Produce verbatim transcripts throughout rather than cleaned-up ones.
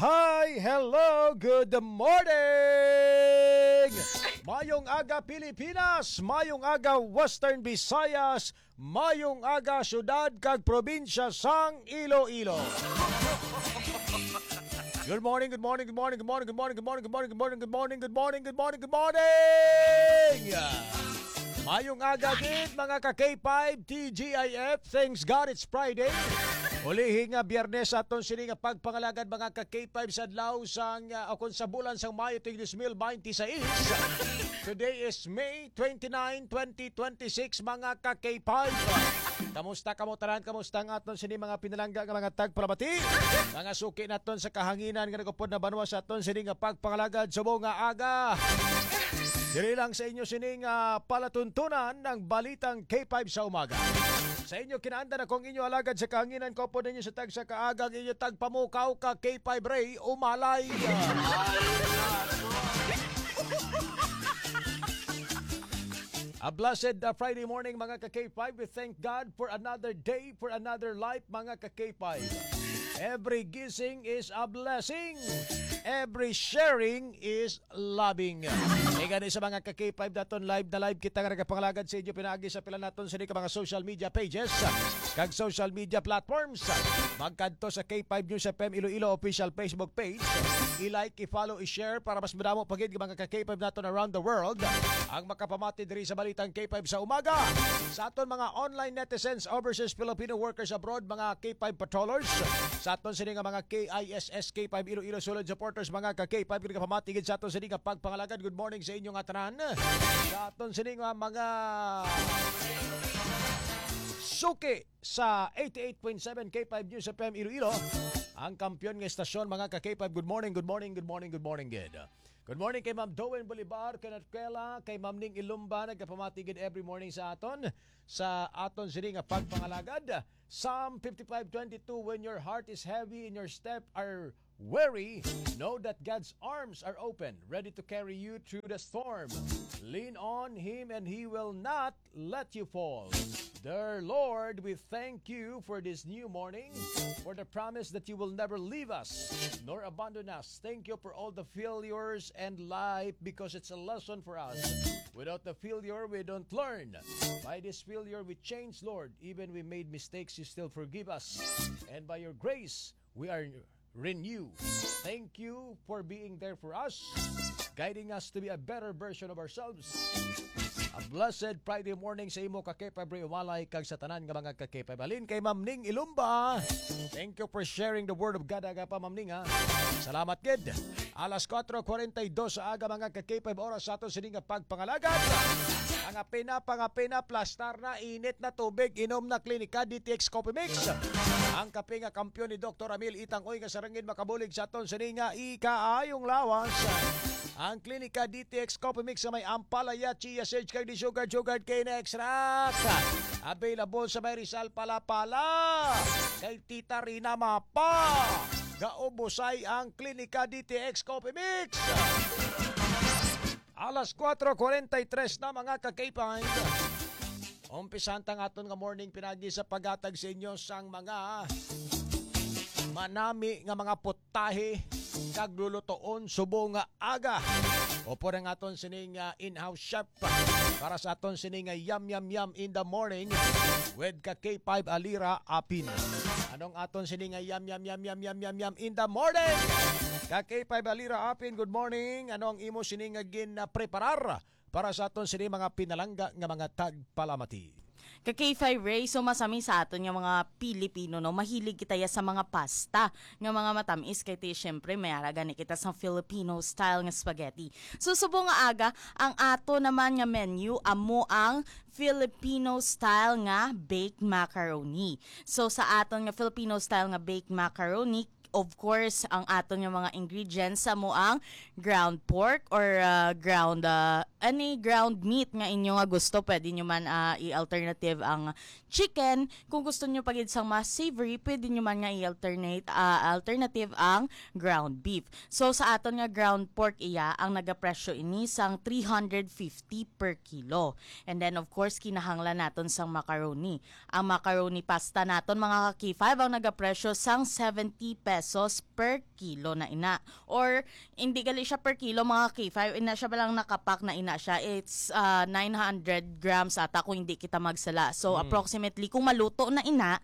Hi, hello, good morning! Mayong aga, Pilipinas! Mayong aga, Western Visayas! Mayong aga, syudad kag probinsya sang Iloilo! Good morning, good morning, good morning, good morning, good morning, good morning, good morning, good morning, good morning, good morning, good morning! Mayong aga gid, mga ka K five T G I F. Thanks God it's Friday. Ulihi nga Biyernes sa aton sini nga pagpangalagad, mga ka K five, sa adlaw sang, ah, o kung sa bulan sang Mayo tuig dos mil binte seis. Today is May twenty-nine, twenty twenty-six, mga ka K five. Kamusta kamo tanan? Kamusta ang aton sini mga pinalangga nga mga tagpalamati? Mga suki naton sa kahanginan nga nagupod na banwa sa aton sini nga pagpangalagad subong nga aga. Diri lang sa inyo sining, ah, palatuntunan ng Balitang K five sa Umaga. Sa inyo kinaandan ako ang inyo alagad sa kahanginan, kaupod ninyo sa tagsa ka aga ang inyo tagpamukaw ka K five Ray Umalay. A blessed, uh, Friday morning, mga ka K five. We thank God for another day, for another life, mga ka K five. Every gising is a blessing. Every sharing is loving. Kay gani sa mga ka K five naton, live na live kita nga nagapangalagad sa inyo pinaagi sa pila naton sini ka mga social media pages kag social media platforms. Magkadto sa K five News F M Iloilo official Facebook page. I-like, i-follow, i-share para mas madamo pa gid nga mga ka K five naton around the world ang makapamati diri sa Balitang K five sa Umaga. Sa aton mga online netizens, overseas Filipino workers abroad, mga K five patrollers, sa aton sini nga mga K I S S K five Iloilo Solid supporters, mga ka K five, nga pamati gid sa aton sini nga pagpangalagad. Good morning sa inyo nga tanan. Sa aton sini nga mga suki sa eighty-eight point seven K five News F M Iloilo, ang kampiyon nga estasyon, mga ka K five. Good morning, good morning, good morning, good morning, good. Good morning kay Ma'am Doen Bolivar, kay Natquela, kay Ma'am Ning Ilumba, nagapamati gid every morning sa aton, sa aton sini nga pagpangalagad. Psalm fifty-five twenty-two, "When your heart is heavy and your step are weary, know that God's arms are open, ready to carry you through the storm. Lean on Him and He will not let you fall." Dear Lord, we thank you for this new morning, for the promise that you will never leave us nor abandon us. Thank you for all the failures and life, because it's a lesson for us. Without the failure, we don't learn. By this failure, we change, Lord. Even we made mistakes, you still forgive us. And by your grace, we are renew. Thank you for being there for us, guiding us to be a better version of ourselves. A blessed Friday morning sa imo, ka K five Ray Umalay, kag sa tanan nga mga ka K five. Halin kay Ma'am Ning Ilumba. Thank you for sharing the word of God, aga pa, Ma'am Ning, ha. Salamat gid. Alas kuwatro kuwarenta y dos sa aga, mga ka K five, oras sa aton sini nga pagpangalagad. Mga pina, mga pina, plastar na, init na tubig, inom na Klinika D T X Coffee Mix. Ang kape nga kampiyon ni Doktor Amil Itang Uy nga sarangin makabulig sa aton sini nga ikaayong lawas. Ang Klinika D T X Coffee Mix nga may ampalaya, chia seeds, kag di sugar, sugar cane extract. Available sa may Rizal, Palapala. Kay Tita Rina Mapa. Gaubusay ang Klinika D T X Coffee Mix. Alas kuwatro kuwarenta y tres na, mga ka-K five. Umpisahan ta ang aton nga morning pinagi sa paghatag sa inyo sang mga manami nga mga putahe kag lulutoon subong nga aga. Upod ang aton sining, ah, in-house chef para sa aton sining nga yum, yum, yum in the morning with ka K five Alira Apin. Anong aton sining nga yum, yum, yum in the morning? Ka K five Alira Apin, good morning. Ano ang imo sining nga gin, ah, preparar para sa aton sini mga pinalangga nga mga tagpalamati? Ka K five Ray, so masami sa aton nga mga Pilipino, no? Mahilig kita ya sa mga pasta nga mga matamis, kay ti, syempre, may ara gani kita sa Filipino style nga spaghetti. So, subong nga aga, ang ato naman nga menu, amo ang Filipino style nga baked macaroni. So, sa aton nga Filipino style nga baked macaroni, of course, ang aton nga mga ingredients, amo ang ground pork or, ah, ground, ah, any ground meat nga inyo nga gusto. Pwede nyo man, ah, i-alternative ang chicken. Kung gusto nyo pa gid sang mas savory, pwede nyo man nga i-alternate, ah, alternative ang ground beef. So, sa aton nga ground pork, iya, ang nagapresyo ini sang three hundred fifty per kilo. And then, of course, kinahanglan naton sang macaroni. Ang macaroni pasta naton, mga ka-K five, ang nagapresyo sang seventy pesos. pesos per kilo na ina. Or, hindi gali siya per kilo, mga K five, ina siya, balang nakapak na ina siya. It's, ah, nine hundred grams ata kung hindi kita magsala. So, Mm. approximately, kung maluto na ina,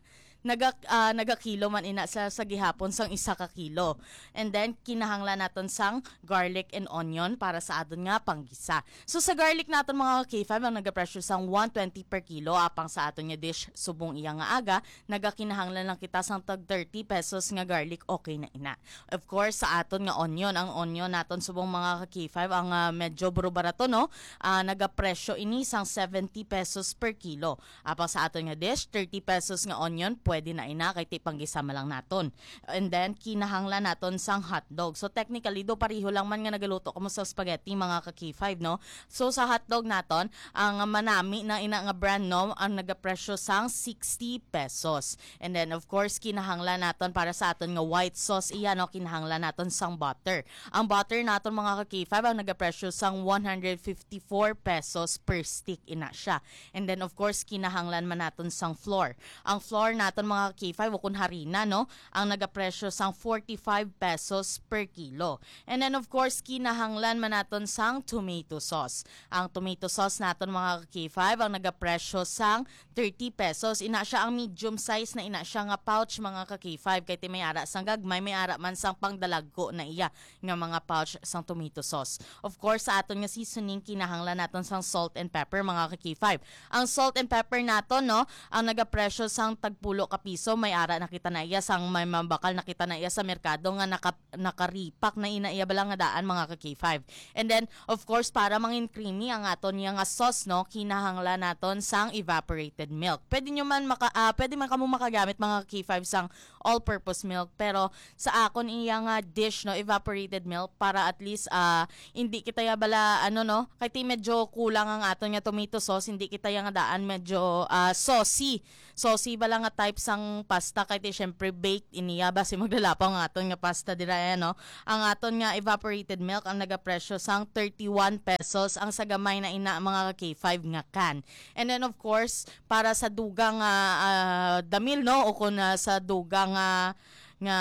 naga-, ah, nagakilo man ina sa, sa gihapon sang isa ka kilo. And then, kinahanglan naton sang garlic and onion para sa aton nga panggisa. So, sa garlic naton, mga K five, ang nagapresyo sang one twenty per kilo, apang sa aton nga dish, subong iya nga aga, nagakinahanglan lang kita sang tag thirty pesos nga garlic, okay na ina. Of course, sa aton nga onion, ang onion naton subong, mga ka-K five, ang, ah, medyo baro-barato, no? Ah, nagapresyo ini sang seventy pesos per kilo. Apang sa aton nga dish, thirty pesos nga onion, pwede na ina, kay ti panggisa man lang naton. And then, kinahanglan naton sang hotdog. So, technically, do pareho lang man nga nagaluto kamo sa spaghetti, mga ka-K five, no? So, sa hotdog naton, ang manami na ina nga brand, no, ang nagapresyo sang sixty pesos. And then, of course, kinahanglan naton para sa aton nga white sauce, iya, no, kinahanglan naton sang butter. Ang butter naton, mga ka-K five, ang nagapresyo sang one hundred fifty-four pesos per stick, ina siya. And then, of course, kinahanglan man naton sang flour. Ang flour naton, mga ka-K five, ukon harina, no, ang nagapresyo sang forty-five pesos per kilo. And then, of course, kinahanglan man naton sang tomato sauce. Ang tomato sauce naton, mga ka-K five, ang nagapresyo sang thirty pesos. Ina siya ang medium size na ina siya nga pouch, mga ka-K five, kay ti may ara sang gagmay, may ara man sang pangdalagko na iya nga mga pouch sang tomato sauce. Of course, sa aton nga seasoning, kinahanglan naton sang salt and pepper, mga ka-K five. Ang salt and pepper naton, no, ang nagapresyo sang tagpulo ka piso, may ara na kita na iya, sang may mabakal na kita na iya sa merkado nga naka-, nakaripak na ina iya bala nga daan, mga ka-K five. And then, of course, para mangin creamy ang aton nga, nga sauce, no, kinahanglan naton sang evaporated milk. Pwede nyo man maka-, ah, pwede man kamo makagamit, mga ka-K five, sang all-purpose milk, pero sa akon iya nga dish, no, evaporated milk, para at least, ah, hindi kita ya bala, ano, no, kay ti medyo kulang ang aton nga tomato sauce, hindi kita ya nga daan medyo, ah, saucy. Saucy bala nga type sang pasta, kay ti syempre baked ini ya, basi maglalapaw ang aton nga pasta dira, eh, no? Ang aton nga evaporated milk ang nagapresyo sang thirty-one pesos ang sa gamay na ina, mga ka-K five, nga can. And then, of course, para sa dugang, ah, ah, damil, no? O kung, ah, sa dugang, ah, nga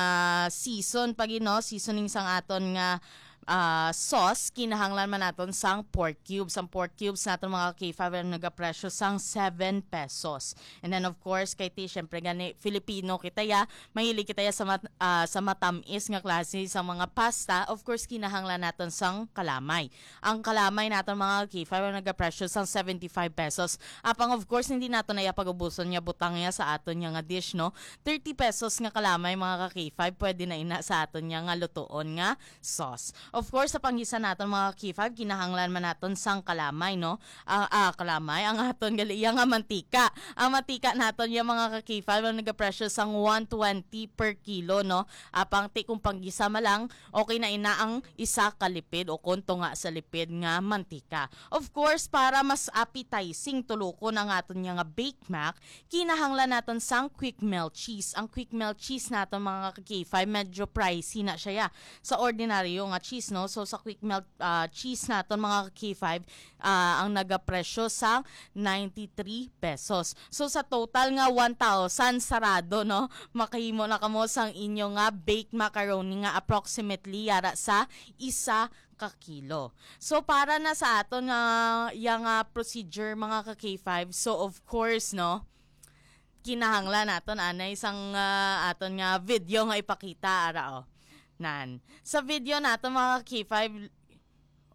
season pa gid, no? Seasoning sang aton nga, ah, sauce, kinahanglan man naton sang pork cubes. Ang pork cubes naton, mga ka-K five, ang nagapresyo sang seven pesos. And then, of course, kay ti, syempre, gani, Filipino kita ya, mahilig kita ya sa mat-, ah, sa matamis nga klase sa mga pasta. Of course, kinahanglan naton sang kalamay. Ang kalamay naton, mga ka-K five, ang nagapresyo sang seventy-five pesos. Apang, of course, hindi naton na iya pag-ubuson nga butang ya sa aton nga, nga dish, no? Thirty pesos nga kalamay, mga ka-K five, pwede na ina sa aton nga, nga lutuon nga sauce. Of course, sa panggisa naton, mga ka-K five, kinahanglan man naton sang kalamay, no? Ah, ah, kalamay, ang aton gali iya nga mantika. Ang mantika naton ya, mga ka-K five, ang nagapresyo sang one twenty per kilo, no? Apang ti kung panggisa man lang, okay na ina ang isa ka lipid o kung tunga sa lipid nga mantika. Of course, para mas appetizing tulukon ang aton nga, nga Bake Mac, kinahanglan naton sang quick melt cheese. Ang quick melt cheese naton, mga ka-K five, medyo pricey na siya ya sa ordinaryo nga cheese, no? So, sa quick melt, ah, cheese naton, mga ka-K five, ah, ang nagapresyo sa ninety-three pesos. So, sa total nga one thousand sarado, no? Makahimo na kamo sang inyo nga baked macaroni nga approximately yara sa isa ka kilo. So, para na sa aton nga, yang, ah, procedure, mga ka-K five, so, of course, no, kinahanglan naton anay sang, ah, aton nga video nga ipakita, ara, oh. Nan. Sa video naton, mga ka-K five,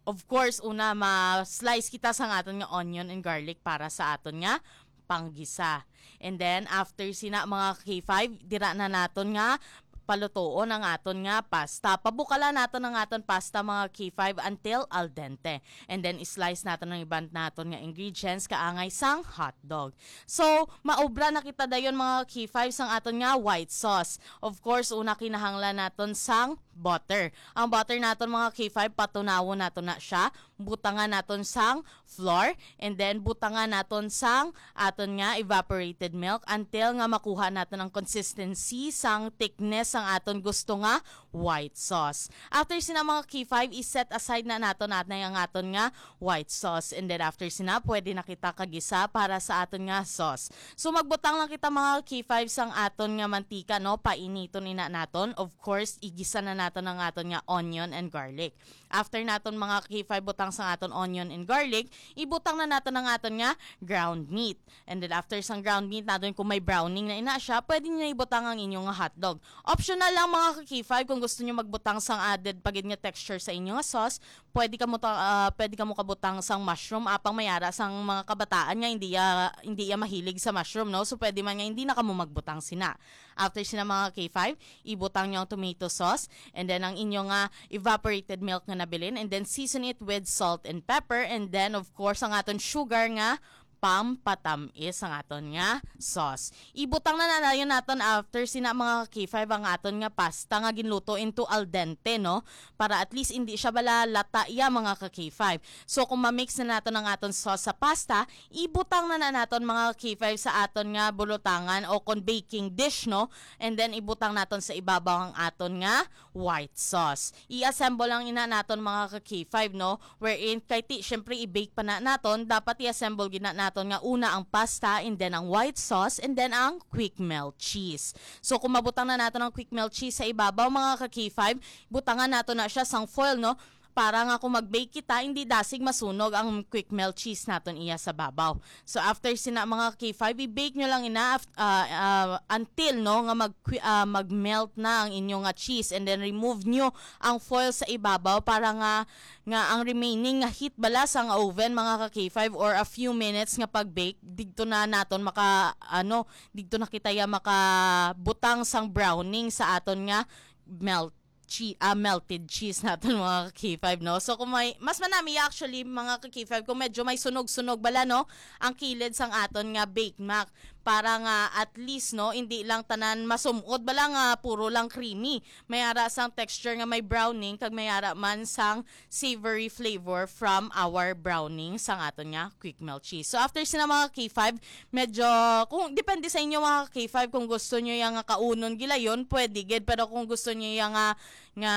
of course, una, ma-slice kita sang aton nga onion and garlic para sa aton nga panggisa. And then, after sina, mga ka-K five, dira na naton nga palutoon ang aton nga pasta. Pabukalan naton ang aton pasta, mga ka-K five, until al dente. And then, slice naton ang iban naton nga ingredients kaangay sang hotdog. So, maubra na kita dayon, mga ka-K five, sang aton nga white sauce. Of course, una, kinahanglan naton sang butter. Ang butter naton, mga K five, patunawon naton na siya. Butangan naton sang flour, and then butangan naton sang aton nga evaporated milk until nga makuha naton ang consistency sang thickness sang aton gusto nga white sauce. After sina, mga K five, i-set aside na naton, naton ang aton nga white sauce. And then after sina, pwede na kita kagisa para sa aton nga sauce. So magbutang lang kita, mga K five, sang aton nga mantika, no? Painiton ina naton. Of course, igisa na naton ang aton nga onion and garlic. After naton, mga K five, butang sang aton onion and garlic, ibutang na naton ang aton nga ground meat. And then after sang ground meat naton, kung may browning na ina siya, pwede niyo ibutang ang inyo nga hotdog. Optional lang, mga ka-K five, kung gusto niyo magbutang sang added pa gid nga texture sa inyo nga sauce, pwede kamo ta-, ah, pwede kamo kabutang sang mushroom, apang may ara sang mga kabataan nga hindi ya, hindi ya mahilig sa mushroom, no? So pwede man nga hindi na kamo magbutang sina. After sina, mga ka-K five, ibutang niyo ang tomato sauce, and then ang inyo nga evaporated milk nga nabilin, and then season it with salt and pepper, and then of course ang aton sugar nga pampatamis ang aton nga sauce. Ibutang na na dayon naton after sina, mga ka-K five, ang aton nga pasta nga ginluto into al dente, no? Para at least hindi siya bala lata ya, mga ka-K five. So kung ma-mix na naton ang aton sauce sa pasta, ibutang na na naton, mga ka-K five, sa aton nga bulutangan o kon baking dish, no? And then ibutang naton sa ibabaw ang aton nga white sauce. I-assemble lang ina naton, mga ka-K five, no? Wherein, kay ti, syempre, i-bake pa na naton, dapat i-assemble gid na naton nga una ang pasta, and then ang white sauce, and then ang quick melt cheese. So, kung mabutang na naton ang quick melt cheese sa ibabaw, mga ka-K five, butangan naton na siya sang foil, no? Para nga kung mag-bake kita, hindi dasig masunog ang quick melt cheese naton iya sa babaw. So after sina, mga K five, i-bake nyo lang ina af-, ah, ah, until, no, nga mag ah, mag-melt na ang inyo nga cheese, and then remove nyo ang foil sa ibabaw para nga, nga ang remaining nga heat bala sang oven, mga ka-K five, or a few minutes nga pag-bake, didto na naton maka ano, didto na kita ya makabutang sang browning sa aton nga melt che-, ah, melted cheese naton, mga ka-K five, no? So kung may mas manami actually, mga ka-K five, kung medyo may sunog-sunog bala, no, ang kilid sang aton nga Bake Mac, para nga at least, no, hindi lang tanan masumot bala nga puro lang creamy. May ara sang texture nga may browning, kag may ara man sang savory flavor from our browning sang aton nga quick melt cheese. So after sina, mga K five, medyo, kung depende sa inyo, mga K five, kung gusto nyo yang nga kaunon gilayon, pwede gid. Pero kung gusto nyo yang nga, nga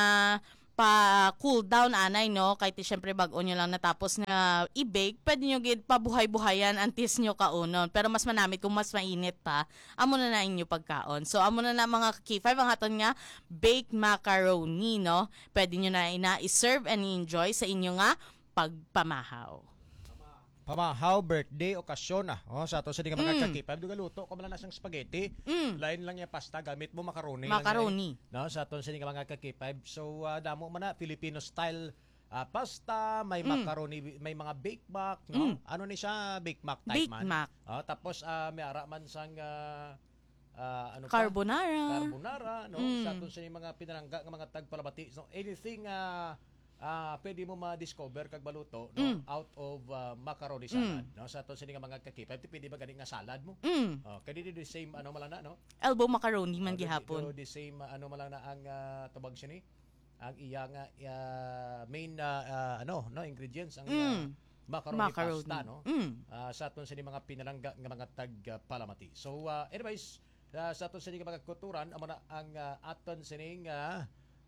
pa cool down anay, no, kay ti syempre bag-o nyo lang natapos nga i-bake, pwede nyo gid pabuhay-buhayan antes nyo kaunon. Pero mas manamit kung mas mainit pa, amo na na inyo pagkaon. So amo na na, mga K five, ang aton nga baked macaroni, no? Pwede nyo na ina i-serve and enjoy sa inyo nga pagpamahaw. Pamahaw, birthday, okasyon, ah. Oh, sa aton sini nga mga Mm. ka-K five, dugaluto ko man lang sang spaghetti. Mm. Lain lang yung pasta, gamit mo macaroni lang yan. Macaroni. No, sa aton sini nga mga ka-K five. So, ah, damo man na, Filipino style, ah, pasta, may Mm. macaroni, may mga bake mac, no? Mm. Ano ni siya, bake mac type Bake man? Mac. Oh, tapos, ah, may ara man sang, ah, ah, ano pa? Carbonara. Carbonara, no? Mm. Sa aton sini mga pinalangga nga mga tagpalamati. So, anything, ah, ah, pwede mo ma-discover kag maluto, no? Mm. Out of, ah, macaroni Mm. salad, no? Sa aton sini nga mga ka-K five, ti pwede ba gani nga salad mo? Mm. Oh, kay di the same, ano, malana, no? Elbow macaroni man Oh, di, gihapon. Di the same, ah, ano, malana ang, ah, tawag siya ni? Ang iya nga, ah, main, ah, ah, ano, no, ingredients, ang, Mm. ah, macaroni Macaroni. pasta, no? Mm. Ah, sa aton sini mga pinalangga nga mga tag, ah, palamati. So, ah, anyways, ah, sa aton sini nga mga kulturan, amo na ang, ah, aton sining, ah,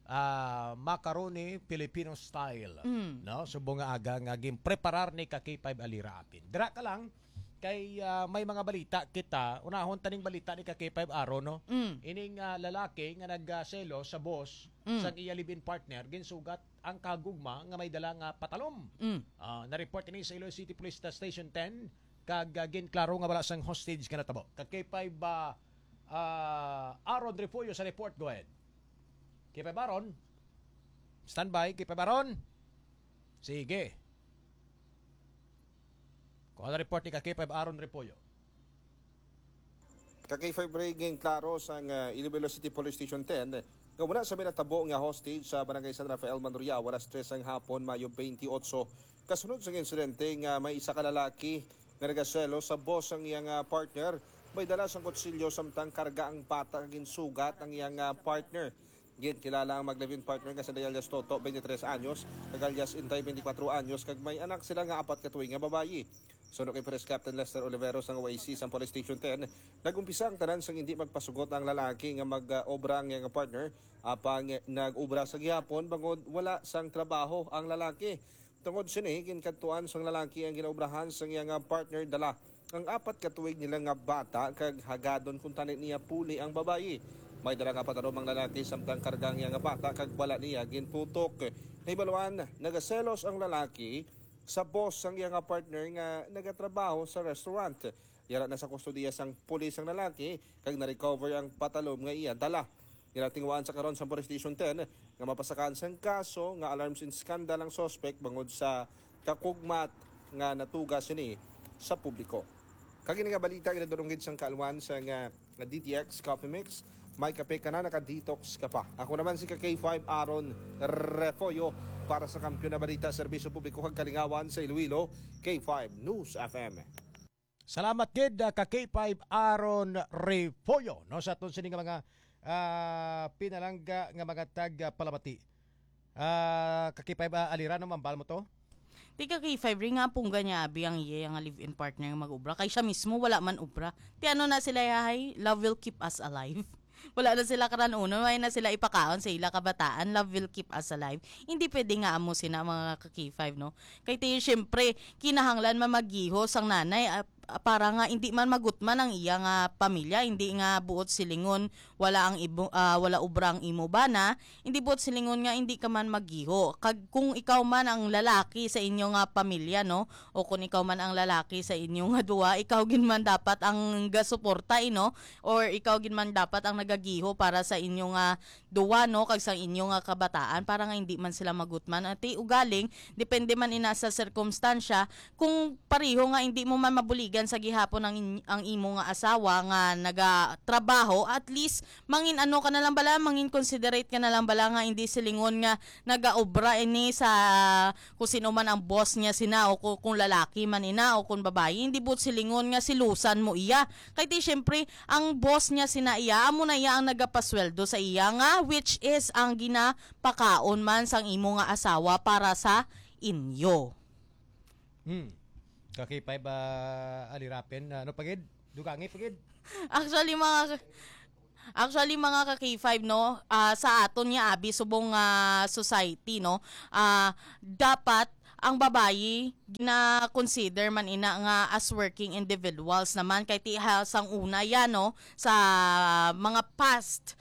ah, macaroni Filipino style, Mm. no? Subong nga aga nga ginpreparar ni ka K five Alira Apin. Dira ka lang, kay, ah, may mga balita kita. Unahon taning balita ni ka K five Aaron, no? Mm. Ining, ah, lalaki nga nagselos sa boss Mm. sang iya live-in partner, ginsugat ang kagugma nga may dala nga patalom. Mm. Ah, na-report ini sa Iloilo City Police Station ten, kag, ah, ginklaro nga wala sang hostage nga natabo. Ka K five, ah, ah, Aaron Refugio sa report. Go ahead. K five Aaron. Standby, K five Aaron. Sige. Kuha na report ni ka K five Aaron Repollo. Ka K five Ray, ginklaro sang, ah, Iloilo City Police Station ten nga wala sa may natabo nga hostage sa Barangay San Rafael, Manoriao, alas tres sang hapon, Mayo twenty-eight. Kasunod sang insidente nga may isa ka lalaki nga nagaselos sa boss sang iyang, ah, partner, may dala sang kutsilyo samtang karga ang bata nga ginsugat ang iyang, ah, partner. Ginkilala ang mag-live-in partner nga si alias Toto, twenty-three anyos, kag alias Inday, twenty-four anyos, kag may anak sila nga apat ka tuig nga babayi. Suno kay Police Captain Lester Olivero sang O I C sang Police Station ten, nag-umpisa ang tanan sang hindi magpasugot ang lalaki nga mag-obra ang iyang partner, apang nag-obra sa gihapon bangod wala sang trabaho ang lalaki. Tungod sini, ginkadtuan sang lalaki ang ginaobrahan sang iyang partner, dala ang apat ka tuig nila nga bata kag hagadon kuntani niya puli ang babayi. May dala nga patalom ang lalaki samtang karga ang iyang bata kag wala niya ginputok. Nahibaluan, nagaselos ang lalaki sa boss sang iyang partner nga nagatrabaho sa restaurant. Yara na sa kustodiya sang pulis ang lalaki kag na-recover ang patalom nga iya dala. Ginatingwaan sa karon sa Police Station ten nga mapasakaan sang kaso nga alarms and scandal ang suspect bangod sa kakugmat nga natuga sini sa publiko. Kag ini nga balita ginadulong gid sang kaalwan sa nga D T X Coffee Mix. May kape ka na, naka-detox ka pa. Ako naman si ka K five Aaron Refollo para sa Kampiyon na Balita, Serbisyo Publiko kag Kalingawan sa Iloilo, K five News F M. Salamat gid, ah, ka K five Aaron Refollo, no, sa aton sini nga mga, ah, pinalangga nga mga tag, ah, palamati. Ah, ka K five, ah, Alira, no, mambal mo to? Ti ka K five, rin nga pungga niya abi ang iya nga live-in partner nga mag-obra. Kay siya mismo wala man obra. Ti ano na sila, yahay? Love will keep us alive. Wala na sila karanunon, wala na sila ipakaon sa ila kabataan. Love will keep us alive. Hindi pwede nga amo sina mga ka K five, no? Kay ti, siyempre, kinahanglan man maggiho sang nanay, ah, para nga hindi man magutman ang iya nga pamilya, hindi nga buot silingon wala ang ibo, ah, wala obra ang imo bana, hindi buot silingon nga hindi ka man maggiho. Kag kung ikaw man ang lalaki sa inyo nga pamilya, no, o kung ikaw man ang lalaki sa inyo nga duwa, ikaw gid man dapat ang gasuporta, eh, no, or ikaw gid man dapat ang nagagiho para sa inyo nga duwa, no, kag sa inyo nga kabataan, para nga hindi man sila magutman. Ati ugaling, depende man ina sa sirkumstansya, kung pareho nga hindi mo man mabuligan sa gihapon ang in-, ang imo nga asawa nga nagatrabaho, at least mangin ano ka na lang bala, mangin considerate ka na lang bala nga hindi silingon nga nagaobra ini sa kung sino man ang boss niya sina, o kung, kung lalaki man ina o kung babayi, hindi buot silingon nga silusan mo iya. Kay ti, siyempre, ang boss niya sina iya, amo na iya ang nagapasweldo sa iya nga, which is ang ginapakaon man sang imo nga asawa para sa inyo. Hmm. Ka K five, ah, Alirapen, ano pa gid? Dugangi pa gid? Actually, mga, actually, mga ka K five, no, ah, sa aton nga abi subong nga society, no, ah, dapat ang babayi gina-consider man ina nga as working individuals naman, kay ti ha, sang una yan, no, sa mga past,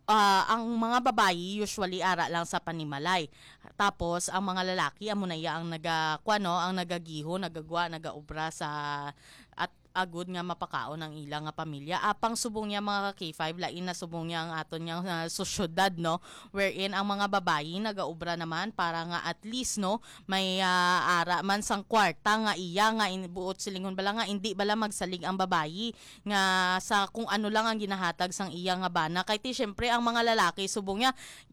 ah, ang mga babayi usually ara lang sa panimalay. Tapos ang mga lalaki amo na iya ang naga, kuwan, no, ang nagagiho, nagagwa, nagaobra sa, at agud nga mapakaon ang ila nga pamilya. Apang subong niya, mga ka K five, lain na subong niya ang aton nga, ah, sosyedad, no, wherein ang mga babayi nagaobra naman para nga at least, no, may, ah, ara man sang kwarta nga iya nga in-, buot silingon bala nga hindi bala magsalig ang babayi nga sa kung ano lang ang ginahatag sang iya nga bana. Kay ti, siyempre, ang mga lalaki subong niya,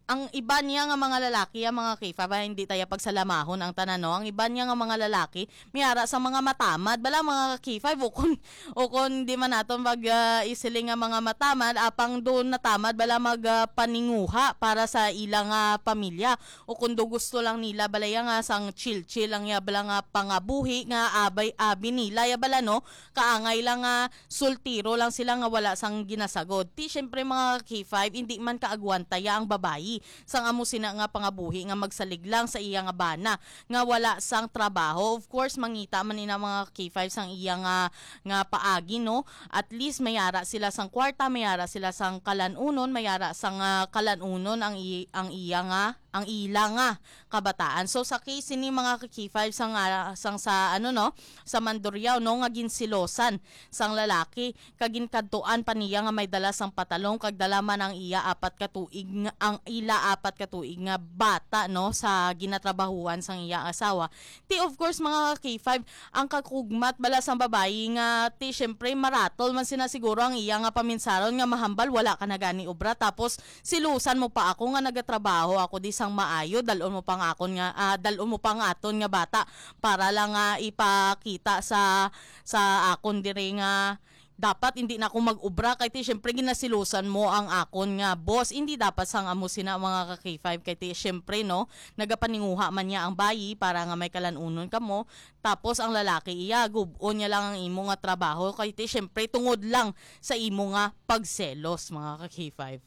ang iba niya nga mga lalaki, ang mga K five, ah, hindi taya pagsalamahon ang tanan, no? Ang iba niya nga mga lalaki, may ara sa mga matamad, bala, mga K five, o kun, o kun di man naton mag, ah, isiling nga mga matamad, apang doon natamad, bala, mag, ah, paninguha para sa ilang, ah, pamilya. O kun do gusto lang nila, bala, ya nga sang chill-chill lang, ya, bala, nga pangabuhi nga abay, abi nila, ya, bala, no? Kaangay lang nga sultiro lang sila nga wala sang ginasagod. Ti, siyempre, mga K five, hindi man kaagwanta ya ang babayi sang amo sina nga pangabuhi nga magsalig lang sa iya nga bana nga wala sang trabaho. Of course, mangita man ina, mga K five, sang iya nga, nga paagi, no? At least, mayara sila sang kwarta, mayara sila sang kalanunon, mayara sang, ah, kalanunon ang i-, ang iya nga, ang ila nga kabataan. So, sa case sini, mga ka K five, sang, ah, sang sa, ano, no, sa Mandurriao, no, nga ginsilosan sang lalaki, kag ginkadtuan pa niya nga may dala sang patalong, kag dala man ang iya apat ka tuig nga, ang ila apat ka tuig nga bata, no, sa ginatrabahuan sang iya asawa. Ti, of course, mga ka K five, ang kakugmat bala sang babayi nga, ti, syempre, maratol man sina siguro ang iya nga paminsaron nga mahambal wala ka na gani obra, tapos silusan mo pa ako nga nagatrabaho ako di sang maayo, dal-on mo pa nga akon nga, ah, dal-on mo pa nga aton nga bata para lang nga ipakita sa, sa akon diri nga dapat hindi na ako mag-obra kay ti syempre ginasilusan mo ang akon nga boss. Hindi dapat sang amo sina, mga ka-K five, kay ti syempre, no, nagapaninguha man niya ang bayi para nga may kalanunon kamo. Tapos ang lalaki iya, gub-on niya lang ang imo nga trabaho kay ti syempre tungod lang sa imo nga pagselos, mga ka-K five.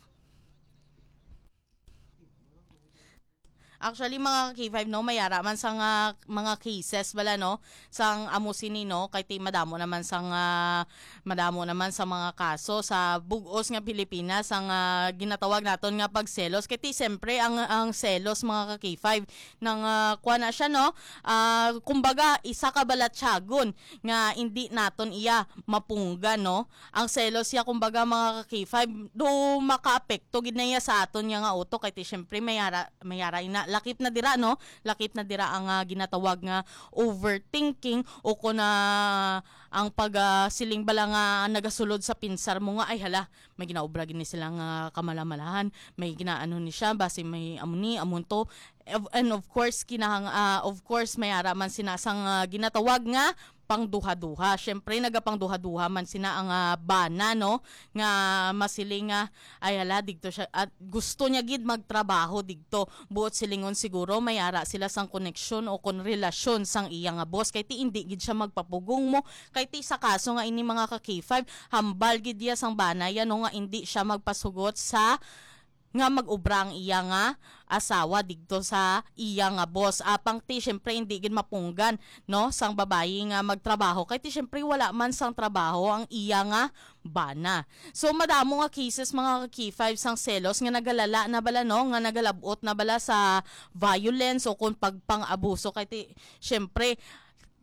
Actually, mga ka-K five, no, may ara man sang, ah, mga cases bala, no, sang amo sini, no, kay ti madamo naman sang, ah, madamo naman sa mga kaso sa bug-os nga Pilipinas ang, ah, ginatawag naton nga pagselos. Kay ti, siyempre, ang, ang selos, mga ka-K five, nang, ah, kuha na siya, no, ah, kumbaga, isa ka balatyagon nga hindi naton iya mapunggan, no. Ang selos siya, kumbaga, mga ka-K five, do makaapekto gid na iya sa aton niya nga utok, kay ti, syempre, may ara, may ara ina, lakip na dira, no? Lakip na dira ang, ah, ginatawag nga overthinking o kon, ah, ang pag, ah, siling bala nga nagasulod sa pinsar mo nga, "Ay, hala, may ginaobra gid ni sila nga kamalamalahan, may ginaano ni siya, basi may amo ni, amo to." Of- And of course, kinahang, ah, of course, may ara man sina sang, ah, ginatawag nga pangduha-duha. Syempre, nagapangduha-duha man sina ang, ah, bana, no? Nga masiling nga, ay hala, digto siya, at gusto niya gid magtrabaho digto. Buot silingon siguro, may ara sila sang koneksyon o kon relasyon sang iya nga boss. Kay ti, hindi gid siya magpapugong mo. Kay ti, sa kaso nga ini, mga ka-K five, hambal gid iya sang bana yan, no, nga hindi siya magpasugot sa nga mag-obra ang iya nga asawa digto sa iya nga boss. Apang ti, syempre, hindi gid mapunggan, no, sang babayi nga magtrabaho. Kay ti, syempre, wala man sang trabaho ang iya nga bana. So, madamo nga cases, mga ka-K five, sang selos nga nagalala na bala, no, nga nagalabot na bala sa violence o kung pagpang-abuso. Kay ti, syempre,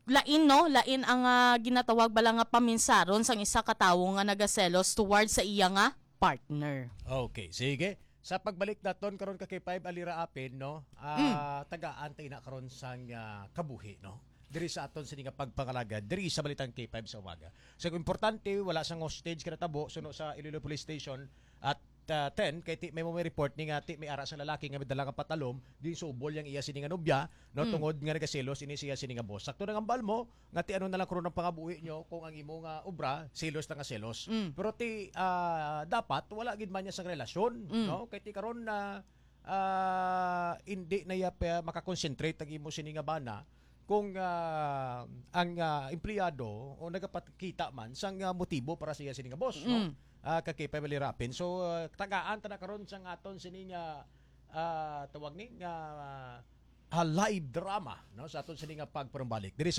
lain, no, lain ang, ah, ginatawag bala nga paminsaron sang isa ka tawo nga nagaselos towards sa iya nga partner. Okay, sige. Sa pagbalik naton karon ka kay five Alira Apin, no? Ah, tagaan ta ina karon sang, ah, kabuhi, no? Diri sa aton sini nga pagpangalagad, diri sa Balitang K five sa umaga. So, importante, wala sang hostage ka natabo suno sa Iloilo Police Station at, ah, ten, kay ti, may mga report ni nga ti, may ara sa lalaki nga may dala nga patalom, di subol yang iya sini nga nobya, no, tungod nga nagaselos ini siya sini nga boss. Sakto na nga ambal mo, nga ti ano na lang karon ang pangabuhi nyo kung ang imo nga obra, selos na nga selos. Pero ti, ah, dapat wala gid man niya sang relasyon, no? Kay ti karon na, ah, hindi na iya pa makakonsentrate ang imo sini nga bana kung, ah, ang, ah, empleyado o nagapakita man sang, ah, motibo para sa iya sini nga boss, no? Ah, kay Family Rapin. So, ah, tagaan ta na karon sang aton sini nga, ah, tawag ni nga, ah, live drama, no, sa aton sini nga pagparumbalik diri sa